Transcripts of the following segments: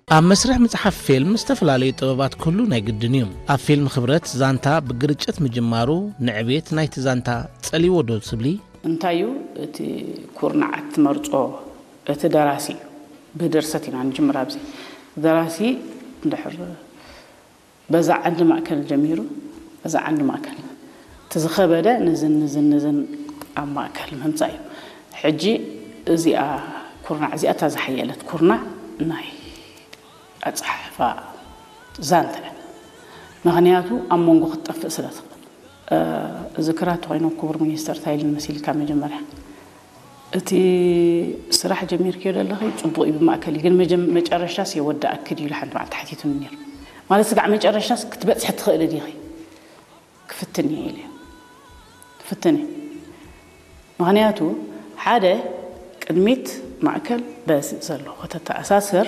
ኣብ መስርሕ ምጽሓፍ ፊልም ዝተፈላለዩ ጥበባት ክህሉ ናይ ግድን እዩ። ኣብ ፊልም ክብረት ዛንታ ብግርጭት ምጅማሩ ንዕቤት ናይቲ ዛንታ ጸልይዎ ዶ ትብሊ? እንታይ እዩ እቲ ኩርናዓት ትመርጾ? እቲ ደራሲ እዩ። ብድርሰት ኢና ንጅምር። ኣብዚ ደራሲ እንድሕር በዛ ዓንዲ ማእከል ጀሚሩ፣ በዛ ዓንዲ ማእከል እቲ ዝኸበደ ንዝን ንዝን ንዝን ኣብ ማእከል ምምጻእ እዩ። ሕጂ እዚኣ ኩርናዕ እዚኣ እታ ዝሓየለት ኩርናዕ ናይ ኣጸሓሕፋ ዛንታ እያ። ምኽንያቱ ኣብ መንጎ ክትጠፍእ ስለ ትኽእል። እዚ ክራት ተኮይኑ ክቡር ሚኒስተር እንታይ ኢሉኒ መሲልካ መጀመርያ እቲ ስራሕ ጀሚርክዮ ዘለኺ ጽቡቕ እዩ ብማእከል እዩ ግን መጀም- መጨረሻስ የወዳእኪ ድዩ ኢሉ ሓንቲ መዓልቲ ሓቲቱኒ ነይሩ። ማለት ስጋዕ መጨረሻስ ክትበጽሒ ትኽእሊ ዲኺ ክፍትን እየ ኢለ። ክፍትን እየ። ምኽንያቱ ሓደ ቅድሚት ማእከል በዚ ዘሎ ከተተኣሳስር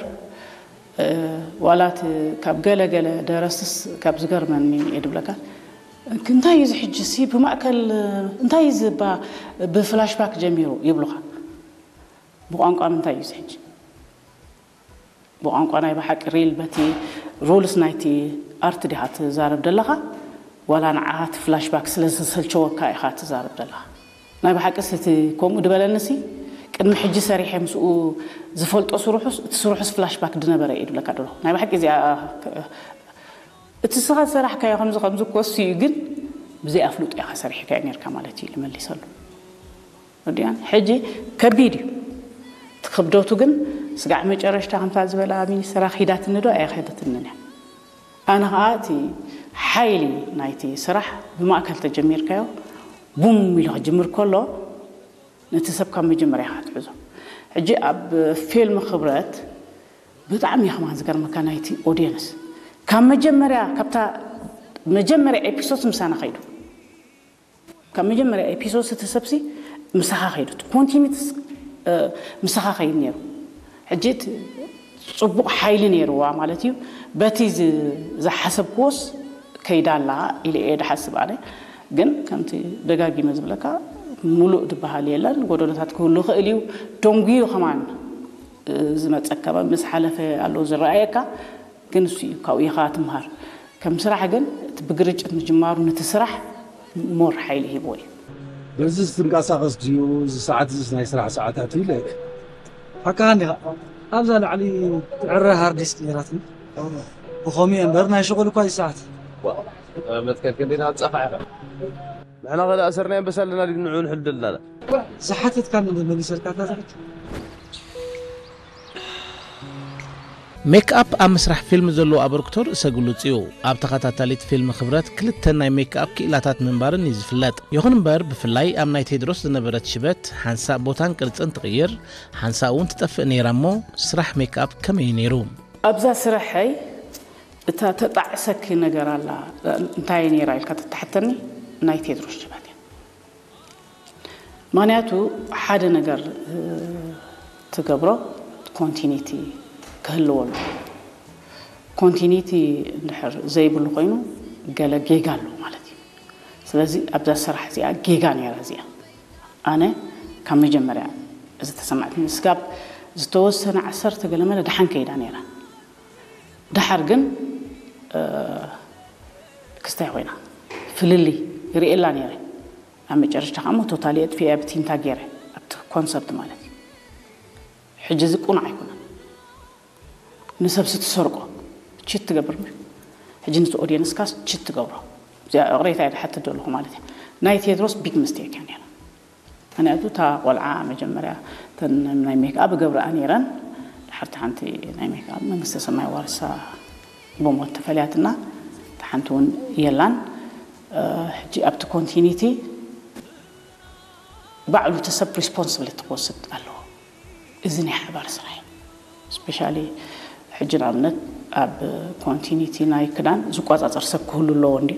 ዋላት ካብ ገለ ገለ ደረስትስ ካብ ዝገርመኒ እየ ድብለካ እንታይ እዩ ዝሕጂ ሲ ብማእከል እንታይ እዩ ዝባ ብፍላሽባክ ጀሚሩ ይብሉኻ ብቋንቋ ምንታይ እዩ ዝሕጂ ብቋንቋ ናይ ብሓቂ ሪል በቲ ሩልስ ናይቲ ኣርት ዲኻ ትዛረብ ደለኻ ዋላ ንዓኻ እቲ ፍላሽባክ ስለ ዝሰልቸወካ ኢኻ ትዛረብ ደለኻ ናይ ብሓቂ ስቲ ከምኡ ድበለንሲ ቅድሚ ሕጂ ሰሪሐ ምስኡ ዝፈልጦ ስሩሑስ እቲ ስሩሑስ ፍላሽባክ ድነበረ እዩ ድብለካ ደለኹ ናይ ብሓቂ እዚኣ እቲ ስኻ ዝሰራሕካዮ ከምዚ ከምዚ ክወሲ እዩ ግን ብዘይ ኣፍልጦ ኢኻ ሰሪሕካዮ ነርካ ማለት እዩ ልመሊሰሉ ወዲያን ሕጂ ከቢድ እዩ እቲ ክብደቱ ግን ስጋዕ መጨረሽታ ከምታ ዝበላ ሚኒስትራ ኺዳትኒ ዶ ኣይኸደትንን እያ ኣነ ኸዓ እቲ ሓይሊ ናይቲ ስራሕ ብማእከል ተጀሚርካዮ ቡም ኢሉ ክጅምር ከሎ ነቲ ሰብ ካብ መጀመርያ ኢኻ ትሕዞ ሕጂ ኣብ ፊልም ክብረት ብጣዕሚ እየ ከማን ዝገርመካ ናይቲ ኦድየንስ ካብ መጀመርያ ካብታ መጀመርያ ኤፒሶድ ምሳና ከይዱ ካብ መጀመርያ ኤፒሶድ እቲ ሰብሲ ምሳኻ ከይዱ ኮንቲኒትስ ምሳኻ ከይድ ነይሩ ሕጂ ጽቡቕ ሓይሊ ነይርዋ ማለት እዩ በቲ ዝሓሰብክዎስ ከይዳ ኣላ ኢለ እየ ድሓስብ ኣነ ግን ከምቲ ደጋጊመ ዝብለካ ሙሉእ ዝበሃል የለን ጎደሎታት ክህሉ ይኽእል እዩ ደንጉዩ ከማን ዝመፀካ ምስ ሓለፈ ኣሎ ዝረኣየካ ግን እሱ እዩ ካብኡ ኢኻ ትምሃር ከም ስራሕ ግን እቲ ብግርጭት ምጅማሩ ነቲ ስራሕ ሞር ሓይሊ ሂብዎ እዩ በዚ ዝትንቀሳቐስ ድዩ እዚ ሰዓት እዚ ናይ ስራሕ ሰዓታት እዩ ኢለ ሓቃኻ እንዲኻ ኣብዛ ላዕሊ ትዕረ ሃርዲስክ ነይራትኒ ብኸምኡ እምበር ናይ ሽቑል እኳ እዩ ሰዓት መትከልኪ እንዴና ጸፋ ኢኻ ንሕና ከ ኣሰርናዮ በሳልና ዲግ ንዑ ንሕል ደልና ዝሓተትካ መሊሰልካ እታ ዝሓት ሜክኣፕ ኣብ ምስራሕ ፊልም ዘለዎ ኣበርክቶ ርእሰ ግሉጽ እዩ። ኣብ ተኸታታሊት ፊልም ክብረት ክልተ ናይ ሜክኣፕ ክኢላታት ምንባርን እዩ ዝፍለጥ። ይኹን እምበር ብፍላይ ኣብ ናይ ቴድሮስ ዝነበረት ሽበት ሓንሳእ ቦታን ቅርጽን ትቕይር፣ ሓንሳእ እውን ትጠፍእ ነይራ እሞ ስራሕ ሜክኣፕ ከመይ እዩ ነይሩ? ኣብዛ ስረሐይ እታ ተጣዕሰኪ ነገር ኣላ እንታይ ነይራ ኢልካ ተተሓተኒ ናይ ቴድሮስ ሽበት እያ። ምኽንያቱ ሓደ ነገር ትገብሮ ኮንቲኒቲ ክህልዎ ኣሎ። ኮንቲኒቲ እንድሕር ዘይብሉ ኮይኑ ገለ ጌጋ ኣሎ ማለት እዩ። ስለዚ ኣብዛ ስራሕ እዚኣ ጌጋ ነይራ እዚኣ። ኣነ ካብ መጀመርያ ዝተሰማዕትኒ ስጋብ ዝተወሰነ ዓሰርተ ገለ መለ ደሓን ከይዳ ነይራ። ደሓር ግን ክስታይ ኮይና ፍልልይ ይርእየላ ነይረ። ኣብ መጨረሽታ ከዓ ሞ ቶታሊ የጥፊኤ ብቲ እንታይ ገይረ ኣብቲ ኮንሰፕት ማለት እዩ። ሕጂ እዚ ቁኑዕ ኣይኮነን። ንሰብሲ ትሰርቆ ቺት ትገብር ም ሕጂ ነቲ ኦድየንስካስ ቺት ትገብሮ እዚኣ ዕቕሬታ እየ ዝሓትት ዘለኹ ማለት እዩ። ናይ ቴድሮስ ቢግ ምስቴክ እያ ነይራ። ምክንያቱ እታ ቆልዓ መጀመርያ እተን ናይ ሜክኣፕ እገብርኣ ነይረን። ድሓርቲ ሓንቲ ናይ ሜክኣፕ መንግስተ ሰማይ ዋርሳ ብሞት ተፈልያትና እታ ሓንቲ እውን የላን። ሕጂ ኣብቲ ኮንቲኒቲ ባዕሉ እቲ ሰብ ሪስፖንስብሊቲ ክወስድ ኣለዎ። እዚ ናይ ሓባር ስራሕ እዩ። ስፔሻሊ ሕጂ ንኣብነት ኣብ ኮንቲኒቲ ናይ ክዳን ዝቆፃፀር ሰብ ክህሉ ኣለዎ እንዲ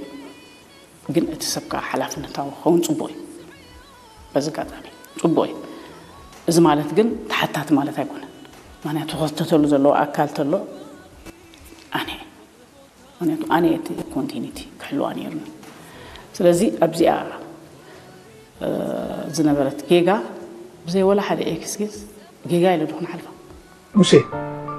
ግን እቲ ሰብ ከዓ ሓላፍነታዊ ክኸውን ፅቡቅ እዩ። በዚ ኣጋጣሚ ፅቡቅ እዩ። እዚ ማለት ግን ተሓታቲ ማለት ኣይኮነን። ምክንያቱ ክኽተተሉ ዘለዎ ኣካል ተሎ ኣነ ምክንያቱ ኣነ እቲ ኮንቲኒቲ ክሕልዋ ነይሩኒ። ስለዚ ኣብዚኣ ዝነበረት ጌጋ ብዘይ ወላ ሓደ ኤክስኪዝ ጌጋ ኢለ ዶ ክንሓልፋ። ሙሴ፣